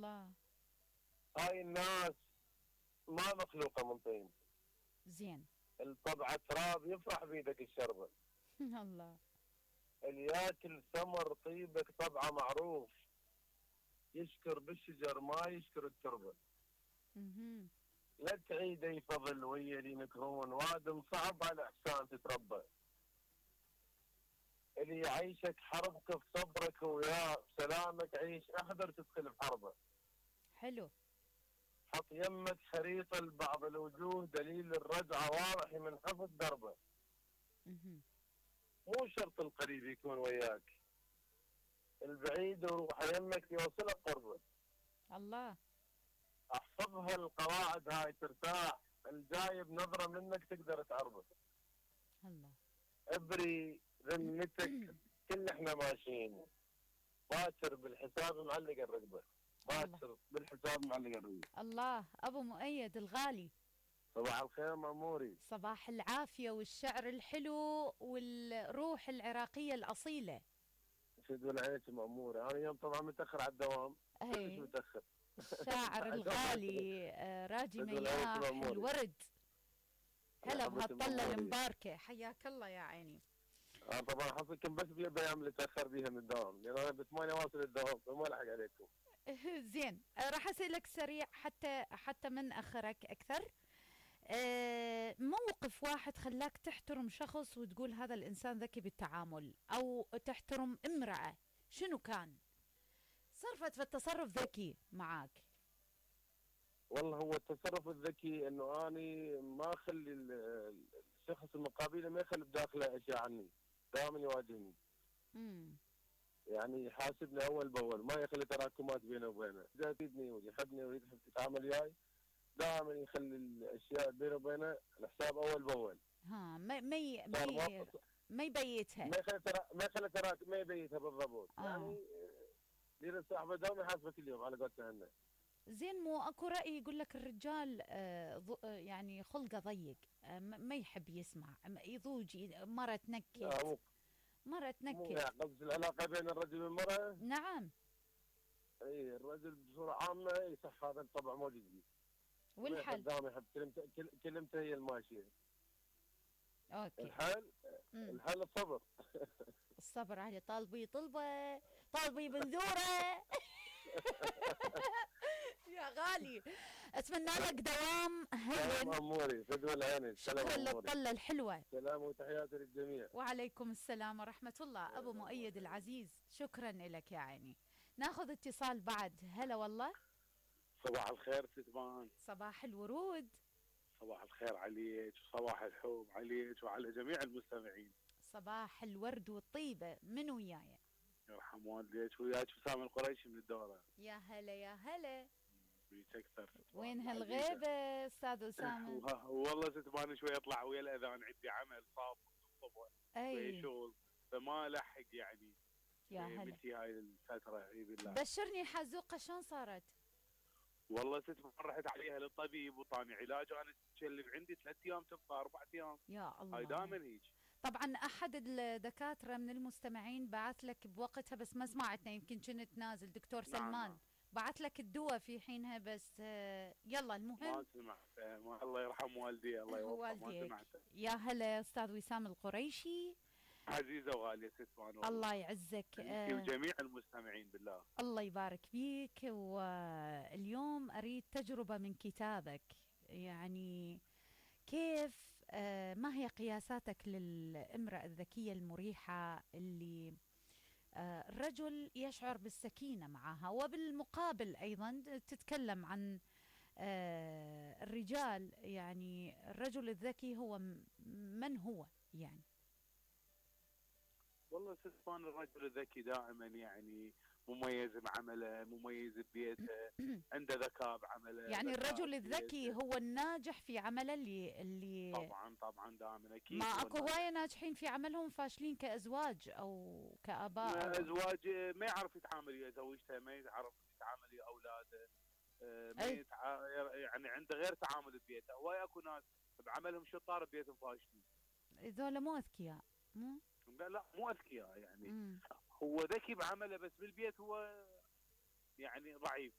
الله. هاي الناس ما مخلوقه من طين. زين. الطبع تراب يفرح بيدك الشربه. الله. اللي ياكل ثمر طيبك طبعه معروف. يشكر بالشجر ما يشكر التربه. لا تعيد اي فضل ويا اللي ينكرون، وادم صعب على احسان تتربى. اللي يعيشك حربك بصبرك وياه بسلامك عيش، احذر تدخل بحربه. حلو. حط يمك خريطه لبعض الوجوه، دليل الرجعه واضح من حفظ دربه. مو شرط القريب يكون وياك، البعيد وروح يمك يوصلك قربه. الله. احفظها القواعد هاي ترتاح، الجايب نظره منك تقدر تعربه. الله. ابري ذمتك، كل احنا ماشيين باكر بالحساب معلق الرقبه. باكر بالحساب معلق الرقبه. الله. ابو مؤيد الغالي، صباح الخير مأموري. صباح العافيه والشعر الحلو والروح العراقيه الاصيله. شد عليك مأموري، انا اليوم طبعا متاخر على الدوام. كلش متاخر. الشاعر الغالي راجي مياح الورد. هلا بهالطله المباركه، حياك الله يا عيني. طبعا حظكم بس بالايام اللي تاخر بيها من الدوام، لان انا ب8 واصل الدوام فما الحق عليكم. زين، راح اسالك سريع حتى من اخرك اكثر. موقف واحد خلاك تحترم شخص وتقول هذا الانسان ذكي بالتعامل، او تحترم امرأة، شنو كان؟ صرفت في التصرف ذكي معاك. والله هو التصرف الذكي انه اني ما اخلي الشخص المقابل ما يخلي بداخله اشياء عني، دائما يواجهني. يعني يحاسبني اول باول، ما يخلي تراكمات بينه وبينه، اذا يفيدني ويحبني ويحب يتعامل وياي دائما يخلي الاشياء بينه وبينه الحساب اول باول. ما يبيتها، ما يخلي تراكم، ما يبيتها بالضبط. يعني دير صاحبه دوم يحاسبه كل يوم على قولتنا. زين، مو اكو رأي يقول لك الرجال يعني خلقه ضيق، ما يحب يسمع، يضوج مرة تنكت، مرة تنكت. مو قصد العلاقة بين الرجل والمرأة؟ نعم. اي الرجل بصورة عامة صح، هذا الطبع موجود فيه. والحل؟ دائما يحب كلمته هي الماشية. اوكي. الحل الصبر. الصبر علي طالبي طلبة، طالبي بنذورة. يا غالي، اتمنى لك دوام هين. سلام اموري، فدوى العين. شكرا للطلة الحلوة. سلام وتحياتي للجميع. وعليكم السلام ورحمة الله. ابو مؤيد العزيز، شكرا لك يا عيني. ناخذ اتصال بعد. هلا والله. صباح الخير ستبان. صباح الورود. صباح الخير عليك، وصباح الحب عليك وعلى جميع المستمعين. صباح الورد والطيبة. من وياي؟ يرحم والديك، وياك وسام القريشي من الدورة. يا هلا يا هلا. بيك اكثر. وين هالغيبة استاذ اسامة؟ والله ستبان شوي اطلع ويا الاذان، عندي عمل صعب الصبح. اي شغل فما لحق يعني. يا هلا. بنتي هاي الفترة اي بالله. بشرني حزوقة شلون صارت؟ والله ستبان رحت عليها للطبيب وطاني علاج، انا تشلب عندي 3 ايام تبقى 4 ايام. يا الله. هاي دائما هيك. طبعا احد الدكاتره من المستمعين بعث لك بوقتها، بس ما سمعتنا، يمكن كنت نازل. دكتور سلمان. نعم. بعث لك الدواء في حينها، بس يلا المهم ما سمعت. الله يرحم والدي، الله يوفقه. ما سمعت. يا هلا استاذ وسام القريشي. عزيزه وغاليه ستبان. الله يعزك. وجميع المستمعين بالله. الله يبارك فيك. واليوم اريد تجربه من كتابك، يعني كيف ما هي قياساتك للامرأة الذكية المريحة اللي الرجل يشعر بالسكينة معها، وبالمقابل أيضا تتكلم عن الرجال، يعني الرجل الذكي هو من هو يعني؟ والله ستبان الرجل الذكي دائما يعني مميز بعمله، مميز ببيته، عنده ذكاء بعمله. يعني الرجل الذكي هو الناجح في عمله اللي طبعا دائما اكيد. ما اكو هوايه ناجحين في عملهم فاشلين كازواج او كاباء. ازواج ما يعرف يتعامل ويا زوجته، ما يعرف يتعامل ويا اولاده، يعني عنده غير تعامل ببيته. هواي اكو ناس بعملهم شطار ببيتهم فاشلين. هذول مو اذكياء. لا مو اذكياء يعني. هو ذكي بعمله بس بالبيت هو يعني ضعيف.